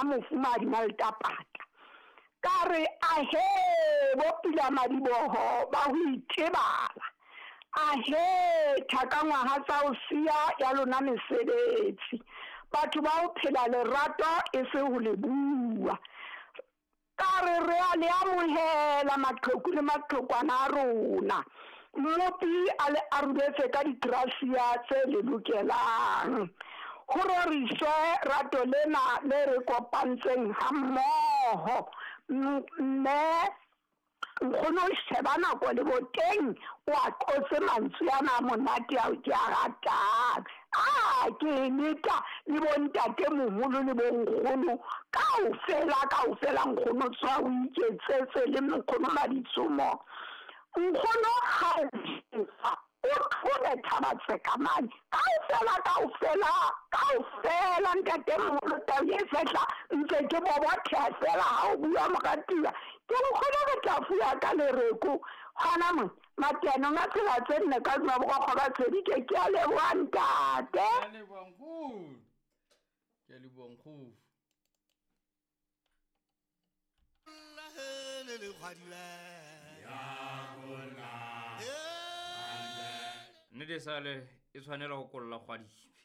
Mofumahadi Maltapata. Ka re ahe bo pula madiboho ba ho itebala. Ahe thakangwaha tsa ho siya ya lona mesebetsi. Batho ba ho phela lerato e se ho le bua. Ka re re a le amohela maqheku le maqhekwana a rona. Mmopi a le aroletse ka digrasia tse le lokelang. Ho roriswe rato lena le re kopantseng hammoho. Mme nkgono o sheba nako le boteng o a qotse mantswe ana a monate ao ke a ratang. A ke leka le bontate moholo le bonkgono kaofela kaofela nkgono tswa o iketsetse le nkgono Maditsomo. Nkgono ha o tlole thaba tsekamane kaofela kaofela kaofela ntate moholo tau e fehla ntse ke bobotheha fela ha o bua moratuwa. Ke nkgono re tla fuwa ka lereko gona mo mateanong a tsela tse nne ka duma borokgo ba tshedi ke ke a leboha ntate. Ke a leboha nkgono. Ke a leboha nkgono. Nnete sale e tshwanela go kolla kgwadibe.